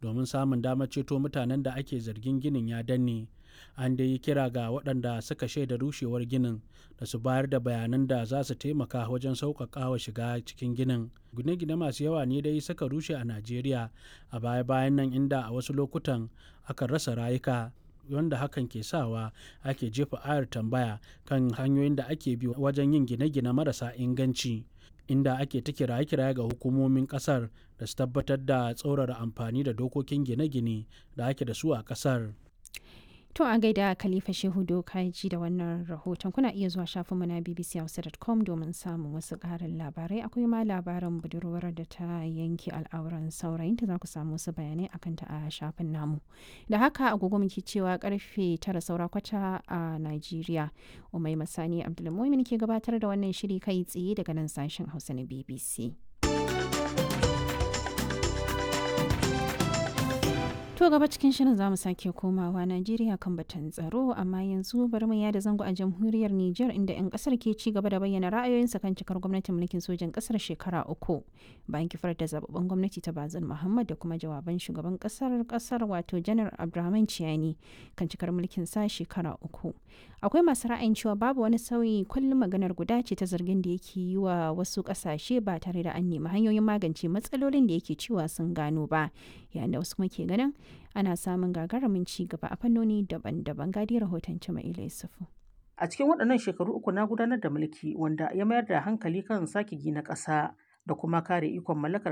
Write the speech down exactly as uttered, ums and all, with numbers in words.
domin samun damar ceto mutanen da ake zargin ginin ya danne. An dai yi kira ga waɗanda suka shaida rushewar ginin da su bayar da bayanan da za su taimaka wajen sauƙaƙawa shiga cikin ginin. Gine-gine masu yawa ne dai suka rushe a Najeriya a baya-bayan nan inda a wasu lokutan akan rasa rayuka wanda hakan ke sawa ake jefa ayar tambaya kan hanyoyin da ake bi wajen yin gine-gine marasa inganci inda ake ta kiraye-kiraye ga hukumomin kasar da su tabbatar da tsaurara amfani da dokokin gine-gine da ake da su a kasar. To a gaida Khalifa Shehu Dokaji da wannan rahoton kuna iya zuwa shafinmu na bbchausa.com domin samun wasu ƙarin labarai akwai ma labarin budurwar da ta yanke al'auran saurayinta za ku samu wasu bayanai akan ta a shafin namu. Da haka agogo muke cewa karfe tara saura kwata a Najeriya. Umai Masani Abdulmumin ke gabatar da wannan shiri kai tsaye daga nan sashen Hausa na BBC. To gaba cikin shirin za mu sake komawa Najeriya kan batun tsaro amma yanzu bari mu yada zango a jamhuriyar Nijar inda 'yan kasar ke ci gaba da bayyana ra'ayoyinsa kan cikar gwamnatin mulkin sojan kasar shekara uku bayan kifar da zababben gwamnati ta Bazin Muhammad da kuma jawaban shugaban kasar kasar wato Janar Abdurrahman Ciyani kan cikar mulkin sa shekara uku. Akwai masu ra'ayin cewa babu wani sauyi kullum maganar guda ce ta zargin da yake yi wa wasu kasashe ba tare da an nemi hanyoyin magance matsalolin da yake cewa sun gano ba yayin da wasu kuma ke ganin ana samun gagarumin ci gaba a fannoni daban-daban gadi rahoton Jama'ila Yusufu. A cikin waɗannan shekaru uku na gudanar da mulki wanda ya mayar da hankali kan sake gina ƙasa da kuma kare ikon mallakar